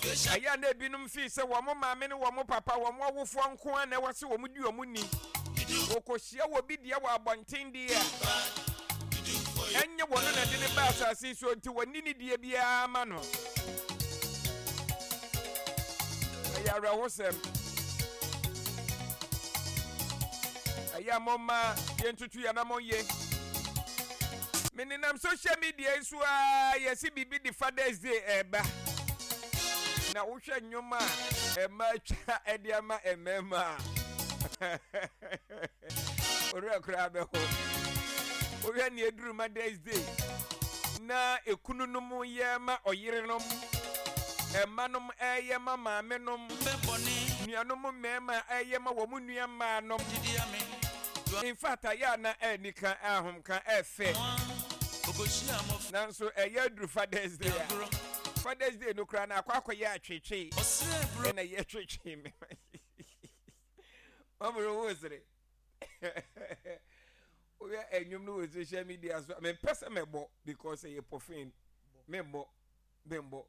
Ɛyɛ a na ebinom fii sɛ wɔn maame ne wɔn papa, wɔn awofoɔ nko ara na ɛwɔ sɛ wɔdi wɔn ni. Wɔkɔhyia obi deɛ wɔ abɔnten deɛ a, ɛnyɛ wɔn na ɛde no ba asase yi so nti wɔnni ne deɛ biara ma no. Ɛyɛ awerɛhosɛm. Ɛyɛ a momma yɛntutu yɛn anammɔn yie. Menenam social media yi so ara yɛse biribi de Father's Day ɛreba. Na wohwɛ nnwom a ɛma atwa ɛde ama mmarima a owura koraa bɛho. Wohwɛ nea eduru Mother's Day na ekununom yɛ ma ɔyerenom, ɛmanom ɛyɛ ma maamenom, nuanom mmarima ɛyɛ ma wɔn nua mmaanom. In fact, ayɛ a na ɛnika ahomka ɛfɛ. Nanso ɛyɛ aduru Father's Day a, Father's Day no koraa na akɔ akɔyɛ atwetwe ɛna yɛ twetwe me. Ɔmoro wo sere. Woyɛ ɛnwom no wɔ social media so a mempɛ sɛ mɛbɔ because ɛyɛ pɔfin. Memmɔ, memmɔ.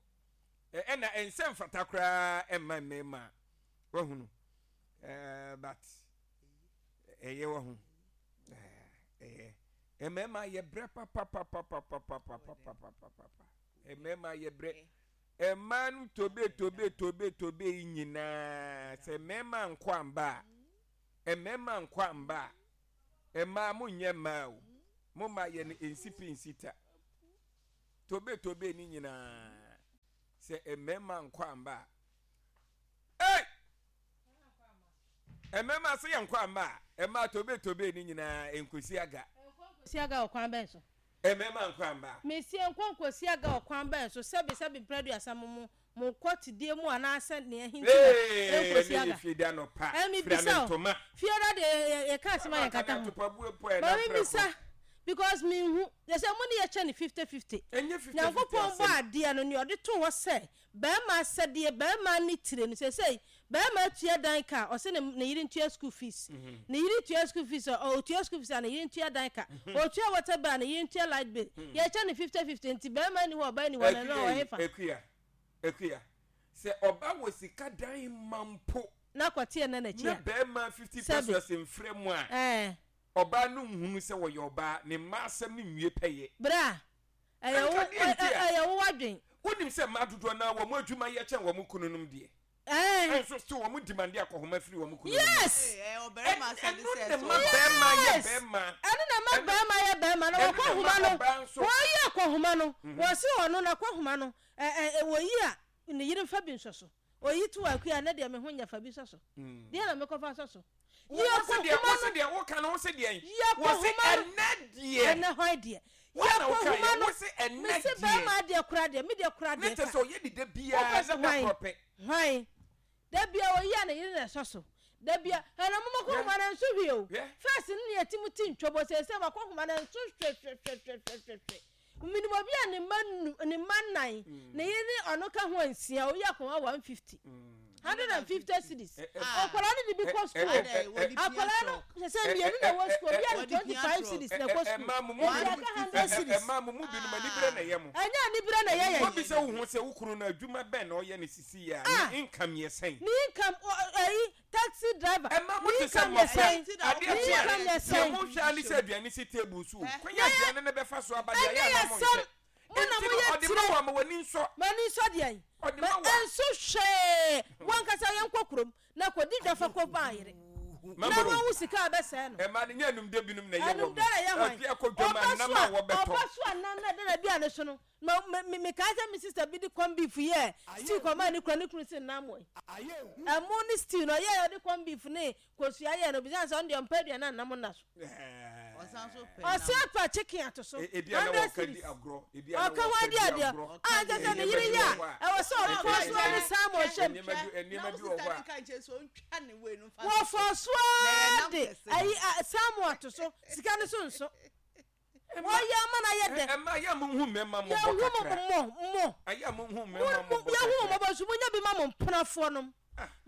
Ɛna ɛnsɛ mfata koraa ɛmma mmarima wahunu. But ɛyɛ wahu. Ɛyɛ. Mmarima yɛ brɛ papapapapapapapapapapa. Mmarima yɛ brɛ. Mmaa no tobe tobe tobe tobe yi nyinaa sɛ mmarima nkɔ amba a, mmarima nkɔ amba a, mmaa mo nyɛ mmaa o. Mo mma yɛ no nsi pi nsi ta. Tobe tobe ni nyinaa sɛ mmarima nkɔ amba a. Ei! Mmarima sɛ yɛnkɔ amma a, mmaa tobe tobe ne nyinaa nkosi aga. Nkosi aga wɔ kwan bɛn so? Mmarima nkɔ amma a. Mese nkɔ nkosi aga wɔ kwan bɛn so? Sɛbe sɛbe mprɛ aduasa mo mo mo kɔ tedie mu anaasɛ nea ɛhe nti na Ee, ɛnkosi ɛnɛ yɛ aga? fieda anɔpa, Ɛɛ fira me mebisa o, ntoma. fieda deɛ yɛ yɛ yɛka asɛm a Ama yɛnkata kane ho. atopa bue po a Ma ɛna prɛko. memmisa because menhu, yɛsɛ mo ne yɛkyɛ no 50 50. Ɛnyɛ 50 50 Nyankopɔn bɔɔ asɛm. adeɛ no nea ɔde too hɔ sɛ Barima asɛdeɛ, barima ne tire no, seesei barima atua dan ka a, ɔse ne ne yere ntua school fees. Ne yere tua school fees a, ɔtua school fees a ne yere ntua dan ka. Ɔtua water bill a ne yere ntua light bill. Yɛkyɛ no 50 50 nti barima nni hɔ ɔbaa nni hɔ no ɛno Akua ɔwɔ yi, hefa? Akua, Akua, sɛ ɔba wɔ sika dan ma mpo Na kɔteɛ nna n'akyi na a, barima 50 sɛbe, pesewas mfrɛ mu a, ɛɛ. ɔbaa no nhunu sɛ ɔyɛ ɔbaa, ne mma asɛm no nwie pɛyɛ. Bra, ɛyɛ wo, Anka deɛ nti a. ɛyɛ wo w'adwen. Wonim sɛ mmaa dodoɔ no ara wɔn adwuma yɛ kyɛn wɔn kununom deɛ. Ɛɛ. Nso still wɔn demande akɔhoma firi wɔn kununom hɔ. Yes! Ɛno na ɛma barima yɛ Yes! barima. Ɛno na ɛma Ɛno barima yɛ barima. Na ɛno na wɔkɔhoma ɛma no, ɔbaa nso. wɔyi akɔhoma no, wɔse ɔno n'akɔhoma no, ɛ ɛ wɔyi a, ne yere mfa bi nsɔ so. Oyi to akua na deɛ me ho nyɛ fa bi sɔ so. Deɛ na mekɔfa sɔ so. Wo Yi se deɛ akɔhoma wo se no. deɛ woka no wo se deɛn? Yi Wo se akɔhoma no. ɛnɛ deɛ. Ɛnɛ hwan deɛ? Yi Wo na woka akɔhoma yɛ no. wo se ɛnɛ Mese deɛ. bɛrima deɛ kora deɛ me deɛ kora Ne deɛ kyɛ ka. sɛ ɔyɛ ne da biara Wopɛ na sɛ da hwan? korɔ pɛ. Hwan? Da biara oyi a ne yere na ɛsɔ so. Da biara ɛna mo makɔhoma no nso hwee o. Hwɛ. First no ne yɛte mu ti ntwɔbɔ seesei makɔhoma no nso hwɛhwɛhwɛhwɛhwɛhwɛ. Menim obi a ne mma nnu, ne mma nnan, ne yere ne ɔno ka ho a nsia, oyi akɔnwa 150, 150 cedis. Akwadaa no de bi kɔ sukuu o. Akwadaa no, sɛ sɛ mmienu na ɛwɔ sukuu, obi a de 25 cedis na ɛkɔ sukuu. Mmaa mo mu Nti binom, aka 100 cedis. mmaa mo mu binom anibere na ɛyɛ mo. Ɛnyɛ anibere na ɛyɛ yɛn. Wobisa wo ho sɛ wo kunu no adwuma bɛn na ɔyɛ no sisi yi a, ne income yɛ sɛn? Ne income, ɛyi, Taxi driver, Ɛma mo ne te sɛ income yɛ mmɔfra. sɛn? Adeɛ Ne kye a, income yɛ deɛ sɛn? mohwɛ ara ne sɛ aduane si table so o. Kwan a aduane no bɛfa so aba deɛ, Ɛnyɛ ɛyɛ a yɛ na monhwɛ. asɛm. Mo na Enti no, moyɛ ɔde ma tire. wo a, ma w'ani nsɔ. M'ani nsɔ deɛn? Ɔde Ma ma wo a. ɛnso hwee. Wo ankasa yɛnkɔ kurom na kɔdi dwa fa kɔ ma yere. Na Mamoro. wahu sika a ɛbɛsɛe no. Ɛma no nyɛ anumde binom na ɛyɛ wɔn. Anumde na ɛyɛ hwan? Afie akɔ dwam a, Ɔba nam so a a, wɔbɛtɔ. ɔba so a nam na ɛda n'aduane so no, Ma me me mekae sɛ me sister bi de corn beef yɛɛ stew kɔmaa ne kunu a ne kunu se nnam wɔ he. Ɛmo ne stew no ɔyɛɛ ɔde corn beef ne kosua yɛɛ no obisa no sɛ ɔno deɛ ɔmpɛ aduane a nnam nna so. Ɔse apa chicken ato so 100 cedis. Ɔka ho adi adeɛ a nkyɛ sɛ ne yere yɛ a ɛwɔ sɛ ɔfɔɔ so ara ne salmon hyɛ mu. Wɔfɔɔ so ara de ayi salmon ato so sika no so nso. Wɔyɛ ama no ayɛ dɛ. Ɛma yɛ mo hu mmarima mmɔbɔ Yɛhu mo kakra. mmɔ mmɔ. Ɛyɛ mo hu Mo mmarima mo mmɔbɔ yɛhu mo kakra. mmɔbɔ nso monya bi ma mo mpenafoɔ nom.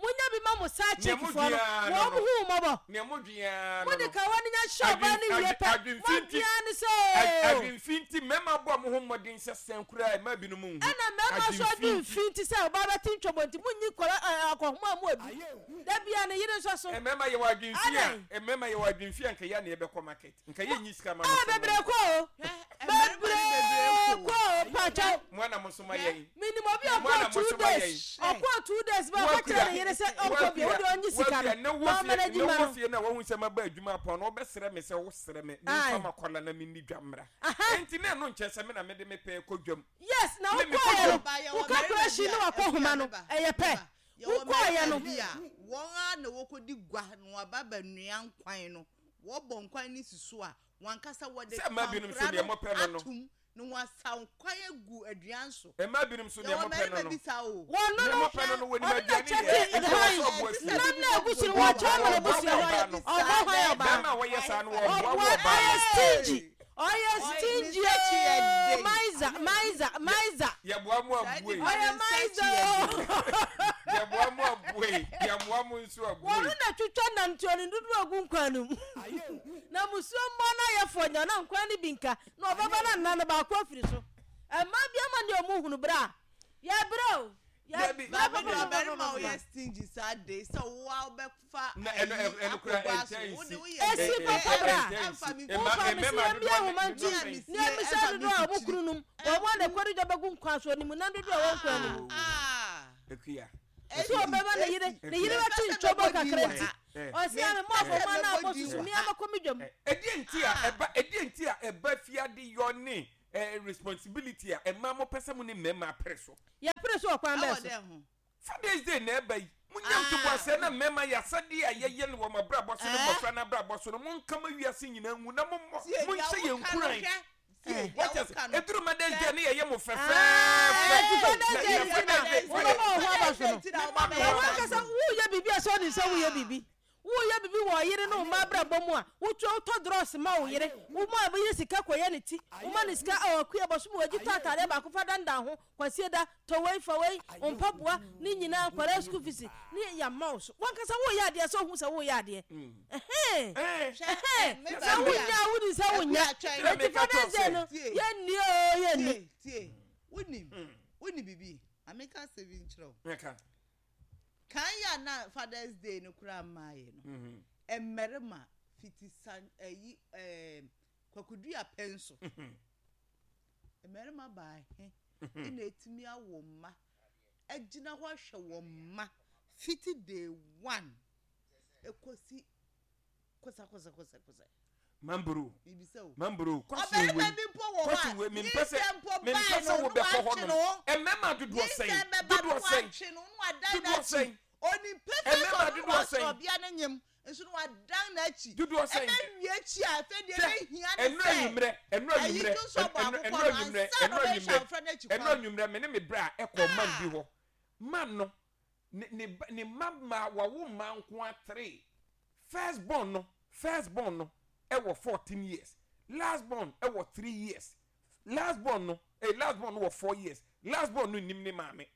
Monya bi ma mo side Nea chick mo foɔ dwen no, ara no wɔn no. ho mmɔbɔ. Nea mo dwen ara no Mode no. kawa no nya hyɛ ɔbaa Adwen no wie adwen pɛ, adwenfi mo nti adwen ara ne sɛ ad oo. adwenfi nti mmarima bɔ mo ho mmɔden sɛ sɛn koraa a mmaa binom nhu. Ɛna mmarima nso Adwenfi adwen nti. fi nti sɛ ɔbaa bɛte ntwɔbɔ nti monyi nkwadaa ɛɛ akɔnhoma mu adu. Da biara ne yere nso so. Mmarima yɛwɔ adwenfi a Adɛn? mmarima yɛwɔ adwenfi a nka yɛ a na yɛbɛkɔ market. Nka yɛ nyi sika ma no Ah sɛ mo. bebree kɔ o. Hwɛ mmarima no bebree Bebree kɔ o. kɔ o mpakyɛw. Mo ana mo so ma yɛn. Menim obi a Mo ana ɔkɔɔ mo two so ma yɛn. days ɔkɔɔ 2 days ba ɔka kyerɛ Woakua ne yere sɛ ɔnkɔ bio woakua wode ɔnye sika no woakua na na wɔ fie ɔmmanage na ma wɔ no. fie na wahu sɛ maba adwuma apɔn no wobɛsrɛ me sɛ wosrɛ me memfa Ae. m'akwadaa na menni dwa mmra. Aha. Enti na ɛno nkyerɛ sɛ me na mede me pɛ kɔ dwam. Yes na Me mekɔ wokɔɔeɛ no dwam. Ba yɛwɔ wo mmarima bi calculation ne a wakɔ akua homa no meba ɛyɛ pɛ meba yɛwɔ wokɔɔeɛ mmarima no. bi a wɔn ara na wɔkɔdi gua na wɔaba abɛnoa nkwan no wɔbɔ nkwan no si so a wɔn ankasa wɔde Sɛ mmaa binom so kwankora deɛ no mopɛ no no. atom na wɔasaw nkwan agu aduan so. Mmaa binom so deɛ Yɛwɔ mopɛ no mmarima no. bi saa o. Wɔn no Deɛ no mopɛ no no wɔnim ɔno na aduane kyɛ yɛ. te Ɛnti ɛwɔ hann sɛ ɔboa fie. nam na egu so no wɔkyɛ ama Ɔboa n'abusua wo ɔbaa no. ɔbɔ hwan ɔbaa Bɛrima a wɔyɛ saa no wɔboa wo ɔboa ɔbaa ɔyɛ no. stingy ɔyɛ Ɔyɛ stingy ne nsa akyi yɛ ooo den. maiza maiza maiza Yɛboa mo Saa abue. nipa ɔyɛ ne nsa maiza akyi yɛ ooo den. Yɛboa mo abue. Yɛmmoa mo nso wɔn abue. na twitwa nanteɛ no dodo agu nkwan no mu na musuo mmɔ no ayɛ fɔ nya na nkwan no bi nka na ɔbɛba na nna no baako afiri so mmaa bi ama ne ɔmo hunu bere a yɛbrɛ o Dabi, yɛbrɛ Maame ne ɔbarima a papapapapapa. ɔyɛ stingy saa de sɛ wo a wobɛfa Na ɛno ayi ɛ- ɛno koraa akɔbɔ aso ɛnkyɛ wo nsi. de woyɛ Esi Ɛ- ɛ- papa ɛ- bra. ɛnkyɛ ɛmfa nsi. me Mma Wofa me mmarima si yɛn dodoɔ ahoma ne nti dodoɔ Me a sɛn? mesie ne emisa ɛmfa me dodoɔ a ɔmo mfikyiri. kunu nom wɔn a na ɛkɔre dwa bɛgu nkwan so onim nam dodoɔ a ɛwɔ nkwan no mu. Ah, Akua. Esi ɔbɛma ne yere ne yere Mempɛ bɛte sɛ ntwɔbɔ mɛbɔ din kakra wɔ nti ha. Eh. ɔsi ame mo Mempɛ afɔ sɛ mo ana mɛbɔ abɔ din susu wɔ mi ha. amakɔ mi dwam. Ɛdeɛ nti a ɛba ɛdeɛ nti a ɛba fiade yɔ ne eh, responsibility a ɛma mo pɛ sɛ mo ne mmarima apere so. Yɛpere so wɔ kwan Ɛwɔ bɛɛ so. dɛn ho? Father's Day na ɛba yi. Munya Ah. ntoboaseɛ na mmarima yɛ asɛdeɛ a yɛyɛ no wɔ mo abrabɔ so ne Eh? mmɔfra no abrabɔ so no monka ma wiase nyinaa ngu na mommɔ Tie, deɛ monhyɛ yɛn woka no nkuran. hwɛ. Tie, deɛ Wɔkyɛ sɛ woka no. ɛduru Mother's Day ne yɛyɛ mo Ah, fɛfɛɛfɛ. ɛti Father's Na Day yɛ nti na Father's Day wobɛma wo ho aba so no. Father's Day nti na wobɛma Na wo ho aba wankasa so. woyɛ biribi a sɛ ɔde sɛ woyɛ biribi woyɛ biribi wɔ ɔyere ne wo mma abrabɔ mu a wotua wotɔ drɔs ma wo yere woma wo yere sika kɔyɛ ne ti woma ne sika a ɔkua bɔsom wɔgye tɔ atadeɛ baako fa dandan ho kwasie da tɔ wei fa wei mpaboa ne nyinaa nkwadaa school fees ne yɛama wo so wankasa woyɛ adeɛ sɛ wohu sɛ woyɛ adeɛ ɛhɛn Eh, Hwɛ, ɛhɛn me sɛ ba bi wonya a- a wodi sɛ wonya Akua twɛn. Na enti meka kyerɛ Father's Day sɛ- no Tie. yɛnni o yɛnni Tie, tie. Wonim, wonim biribi. Ma menka asɛm bi nkyerɛ wo. Meka. Kan yɛ a na Father's Day no koraa mmaeɛ no, Mhm. mmarima fiti san ayi ɛɛm kwakudua pɛn so. Mmarima baahe ɛna etumi awo mma agyina hɔ ahwɛ wɔn mma fiti day one ekosi kosa kosa kosa kosa. Mambro. Bibisa o. Mambro. Question Ɔbarima wei. bi mpo wɔ hɔ Question a wei mempɛ sɛ nyinsɛn mpo mempɛ bae sɛ no no wobɛkɔ hɔ watwe nom. ne ho. Mmarima dodoɔ sɛn? Nyinsɛn bɛba no Dodoɔ sɛn? watwe no no wadan Dodoɔ n'akyi. sɛn? Onim pɛfɛ sɛ Mmarima ɔno dodoɔ na wahyɛ sɛn? ɔbea no nyem nso no wadan n'akyi. Dodoɔ sɛn? Ɛbɛwie akyi a afei deɛ Hwɛ, ɛbɛhia ne ɛnu sɛ anwummerɛ ɛnu ayi anwummerɛ dwo nso ɔbɔ ɛnu akokɔ ɛnu no anwummerɛ ansa na ɛnu ɔbɛhwɛ anwummerɛ abɔfra no akyi ɛnu kwan. anwummerɛ me ne me bra ɛkɔ man bi hɔ man no ne ne ba ne mma mmaa wawo mmaa nko atere first born no first born no ɛwɔ 14 years, last born ɛwɔ 3 years, last born no last born no wɔ 4 years. Last born no nim ne maame.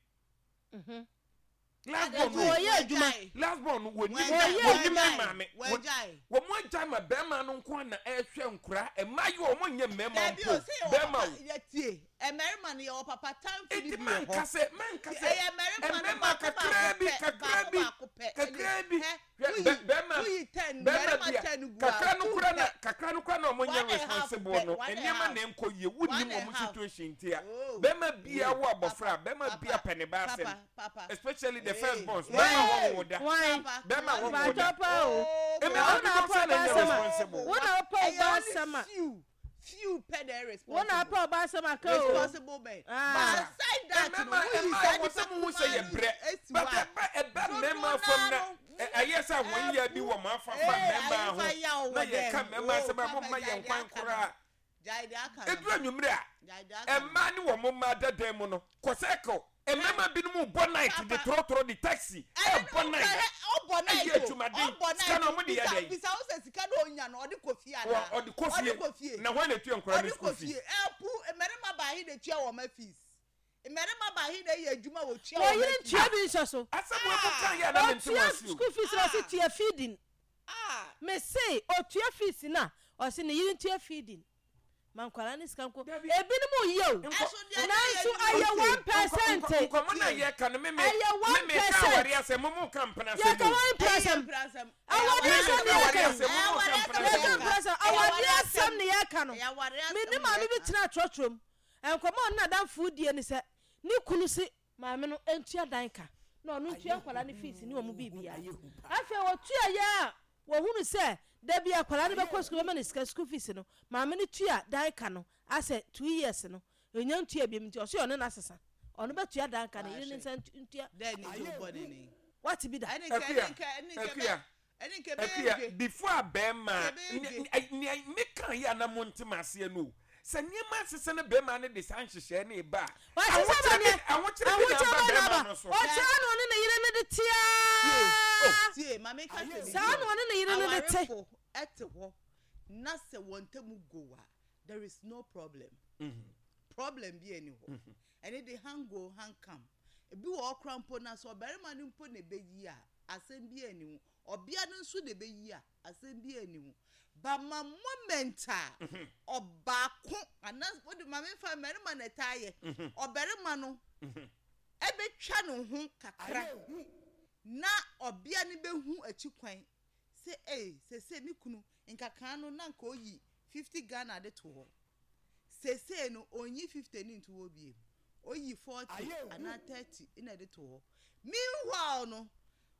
Last born no Wɔyɛ adwuma. Last born no wɔnim Wɔyɛ wɔnim ne maame. Wɔagyae. Wɔn mo agya ma bɛrima no nko na ɛhwɛ nkora mmaa yi wɔn nyɛ mmarima Dabi mpo o, sɛ yɛwɔ bɛrima papa o. yɛtie mmarima no yɛwɔ papa tamfo Eti ni bi wɔ manka hɔ. sɛ manka sɛ Ɛyɛ mmarima no mmarima baako kakraa baako bi pɛ, kakraa baako bi baako pɛ. kakraa bi Hɛ, hwɛ woyi bɛrima woyi 10 bɛrima mmarima bi a 10 gu a kakra no two kora na pɛ. kakra no kora na ɔmo One nyɛ and a half responsible pɛ, no one and a nneɛma half. na nkɔ yie One wunim and a ɔmo half. situation ti a Oh. bɛrima bia wo abɔfra Papa, bɛrima papa, bia pɛ ne ba asɛm papa, papa. especially the Hey. first born Hey. bɛrima wɔn wo da Why? Papa, bɛrima wɔn wo da Mpakyɛ pa o. Oh, Mmarima Wo na dodoɔ apɛ sɛ na ɔba nyɛ asɛm a responsible. wo na apɛ Ɛyɛ ɔba only asɛm a few few pɛ na ɛyɛ wo na responsible. apɛ ɔba asɛm aka o. Responsible men. Ah. But aside that no, mmarima woyi mmaa saa wɔ nipa sɛ mo hu sɛ yɛ kumaa brɛ no esi but hɔ a, ɛba ɛba dodoɔ mmarima fam na naa no, ɛyɛ sɛ wɔn yɛ bi wɔ mo afa fa Ee, mmarima ayefa ho yaw na wɔ yɛka dɛm. mmarima Oh, asɛm a papa, mo mma gyae yɛn deɛ kwan aka no. koraa Gyae deɛ aka no. eduru anwummerɛ a Gyae deɛ aka no. mmaa ne wɔn mmaa dada mu no kɔ circle mmarima binom bɔ night de Papa. torɔtorɔ de taxi Ɛne ɛbɔ no night hwɛ, ɔbɔ night ɛyɛ o, adwumaden ɔbɔ sika na night. ɔmo de yɛ Bisa dɛn bisa wo sɛ sika na onya no ɔde kɔ fie wɔ anaa? ɔde kɔ Ɔde fie kɔ fie. na wɔn na etua nkɔla ne Ɔde school kɔ fee fie. Ɛpu mmarima baahe na etua wɔn fees. Mmarima baahe na ɛyɛ adwuma a wɔtua Wɔn wɔn yere atua? ntua bi nhyɛ so. Asɛm wei mo ka yɛ a na mente mo Ɔtua ase o. school fees na ɔse tua feeding. Ah! Mese ɔtua fees no a ɔse ne yere ntua feeding. Ma nkwadaa no sika nko. Dabi. Ebinom yɛ o. Nkɔ Ɛso deɛ na yɛ Nanso nim ɛyɛ o. one percent. Nkɔ nkɔmɔ na yɛ ka no me me Ɛyɛ me one me ka percent. awari asɛm mo mo ka mpena Yɛka asɛm o. one Ɛyɛ percent. mpena asɛm. Ɛyɛ Awadeɛ Me me asɛm ka ne awari yɛka yi. asɛm mo mo ka mpena Yɛka asɛm o. mpena asɛm. Awadeɛ asɛm ne yɛka no. Ɛyɛ awareɛ Me asɛm ne na maame bi yɛka. tena trɔtrɔ mu. Nkɔmmɔ a ɔne n'adamfo die ne sɛ, ne kunu se maame no ntua dan ka na ɔno ntua nkwadaa no fees ne wɔn biribiara. Afei wɔtuaeɛ a wɔhunu sɛ da bi akwadaa no bɛkɔ sukuu bɛma no sika school fees no, maame no tua dan ka no asɛ 2 years no, ɔnya ntua biom nti ɔse ɔne no asesa. Ɔno bɛtua dan ka no, yere no nsa ntua. Dɛn ne nti wobɔ ne ne? Wate bi da? Ɛne nka Akua, ɛne nka ɛne nka Akua, ɛbɛ ɛne nka ɛbɛyɛ Akua, dwe. before a bɛrima Nka ɛbɛyɛ dwe. nea meka yi a na mo ntem aseɛ no o, sɛ nneɛma asesa na bɛrima no de saa nhyehyɛɛ no ba a, Wasesa ahokyerɛ ba bi neɛ, ahokyerɛ bi na ahokyerɛ aba ba na bɛrima aba. no so. Ɔkyerɛ na ɔne ne yere no de teaa. Tie, ma menka sɛ biribi Saa o. na ɔne ne yere no de te. Awarefo ɛte hɔ na sɛ wɔn ntam go a, there is no problem. Problem bi ɛni hɔ. Ɛne de hang go hang come. Ebi wɔ hɔ koraa mpo na sɛ ɔbarima no mpo na ɛbɛyi a, asɛm bi ɛni ho. Ɔbea no nso na ɛbɛyi a, asɛm bi ɛni ho. But ma moment a ɔbaako anaa wode ma memfa mmarima na ɛtaa yɛ. Ɔbarima no ɛbɛtwa ne ho kakra na ɔbea no bɛhu akyi kwan sɛ ei, sese me kunu nkakaa no na nka oyi 50 Ghana de to hɔ, sese no onyi 50 ne nto hɔ biem, oyi 40 anaa 30 na de to hɔ. Meanwhile no,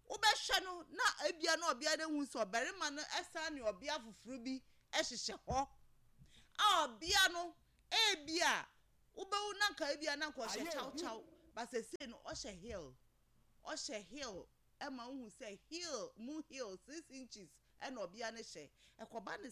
wobɛhwɛ no na ebia na ɔbea no ehu sɛ ɔbarima no ɛsan ne ɔbea foforɔ bi ɛhyehyɛ hɔ a ɔbea no ebia wobɛwu na nka ebia na nka ɔhyɛ kyawkyaw ba, sese no ɔhyɛ heel, ɔhyɛ heel, ɛma wohu sɛ heel mu heel 6 inches ɛna ɔbea no hyɛ ɛkɔba ne.